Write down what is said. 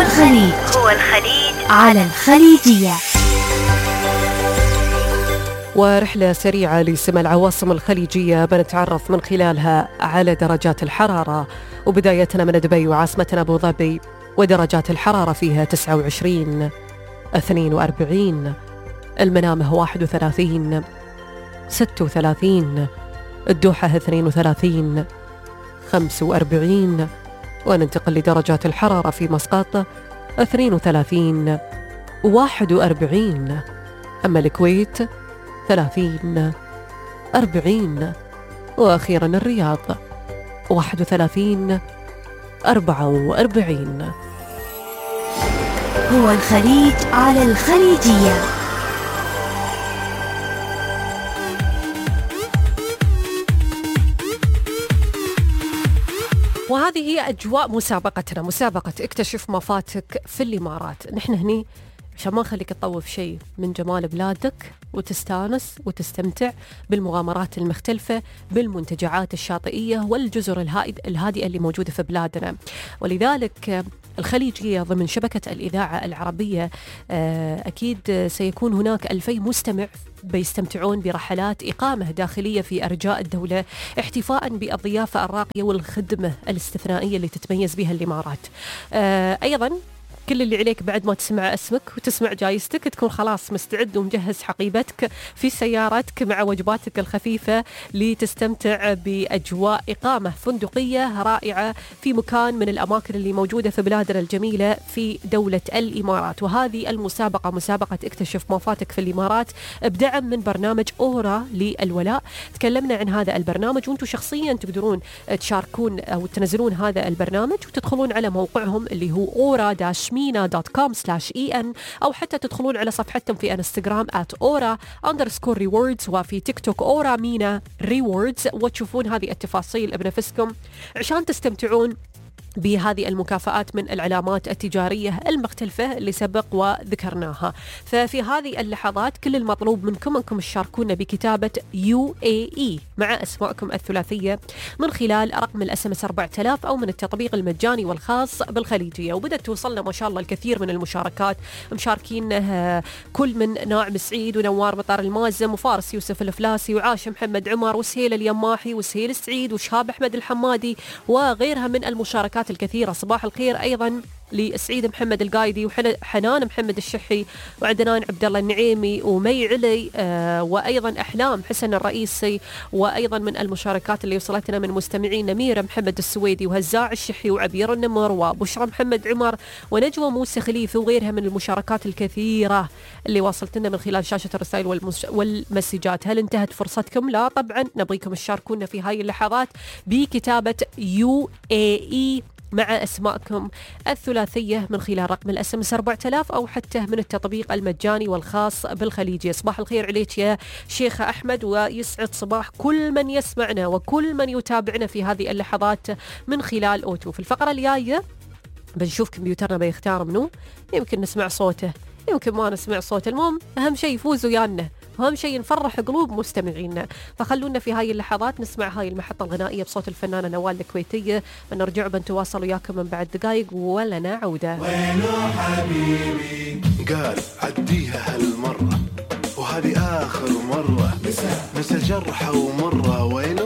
الخليج على الخليجية. ورحلة سريعة لسمى العواصم الخليجية بنتعرف من خلالها على درجات الحرارة، وبدايتنا من دبي وعاصمتنا أبو ظبي، ودرجات الحرارة فيها 29 42، المنامة 31 36، الدوحة 32 45، وننتقل لدرجات الحرارة في مسقط 32 41، أما الكويت 30 40، وأخيرا الرياض 31 44. هو الخليج على الخليجية. وهذه هي أجواء مسابقتنا، مسابقة اكتشف ما فاتك في الإمارات. نحن هني عشان ما نخليك تطوف شيء من جمال بلادك وتستانس وتستمتع بالمغامرات المختلفة، بالمنتجعات الشاطئية والجزر الهادئة اللي موجودة في بلادنا. ولذلك الخليجية ضمن شبكة الإذاعة العربية أكيد سيكون هناك 2000 مستمع بيستمتعون برحلات إقامة داخلية في أرجاء الدولة، احتفاء بالضيافة الراقية والخدمة الاستثنائية اللي تتميز بها الإمارات. أيضاً كل اللي عليك بعد ما تسمع اسمك وتسمع جايزتك تكون خلاص مستعد ومجهز حقيبتك في سيارتك مع وجباتك الخفيفة لتستمتع بأجواء إقامة فندقية رائعة في مكان من الأماكن اللي موجودة في بلادنا الجميلة في دولة الإمارات. وهذه المسابقة مسابقة اكتشف ما فاتك في الإمارات بدعم من برنامج أورا للولاء. تكلمنا عن هذا البرنامج، وانتم شخصيا تقدرون تشاركون أو تنزلون هذا البرنامج وتدخلون على موقعهم اللي هو aura-mina.com/en، أو حتى تدخلون على صفحتهم في انستغرام @aura_rewards، وفي تيك توك أورا مينا ريوردز، وتشوفون هذه التفاصيل بنفسكم عشان تستمتعون بهذه المكافآت من العلامات التجارية المختلفة اللي سبق وذكرناها. ففي هذه اللحظات كل المطلوب منكم أنكم تشاركونا بكتابة UAE مع أسماءكم الثلاثية من خلال رقم الSMS 4000 أو من التطبيق المجاني والخاص بالخليجية. وبدأت توصلنا ما شاء الله الكثير من المشاركات، مشاركين كل من ناعم سعيد ونوار مطار المازم وفارس يوسف الفلاسي وعاش محمد عمر وسهيل اليماحي وسهيل سعيد وشهاب أحمد الحمادي وغيرها من المشاركات الكثيرة. صباح الخير أيضا لسعيد محمد القايدي وحنان محمد الشحي وعدنان عبد الله النعيمي ومي علي وأيضا أحلام حسن الرئيسي. وأيضا من المشاركات اللي وصلتنا من مستمعين نميرة محمد السويدي وهزاع الشحي وعبير النمر وبشرى محمد عمر ونجوى موسى خليفة وغيرها من المشاركات الكثيرة اللي واصلتنا من خلال شاشة الرسائل والمسجات. هل انتهت فرصتكم؟ لا طبعا، نبغيكم تشاركونا في هاي اللحظات بكتابة UAE مع أسماءكم الثلاثية من خلال رقم الSMS 4000 أو حتى من التطبيق المجاني والخاص بالخليجية. صباح الخير عليك يا شيخ أحمد، ويسعد صباح كل من يسمعنا وكل من يتابعنا في هذه اللحظات من خلال أوتو. في الفقرة الجاية بنشوف كمبيوترنا بيختار منه، يمكن نسمع صوته يمكن ما نسمع صوته، المهم أهم شيء يفوز ويانا، أهم شيء نفرح قلوب مستمعينا. فخلونا في هاي اللحظات نسمع هاي المحطة الغنائية بصوت الفنانة نوال الكويتية، بنرجع بنتواصل وياكم من بعد دقايق ولنا عودة. وينو حبيبي قال عديها هالمرة وهذه آخر مرة، نسى جرحه ومرة. وينو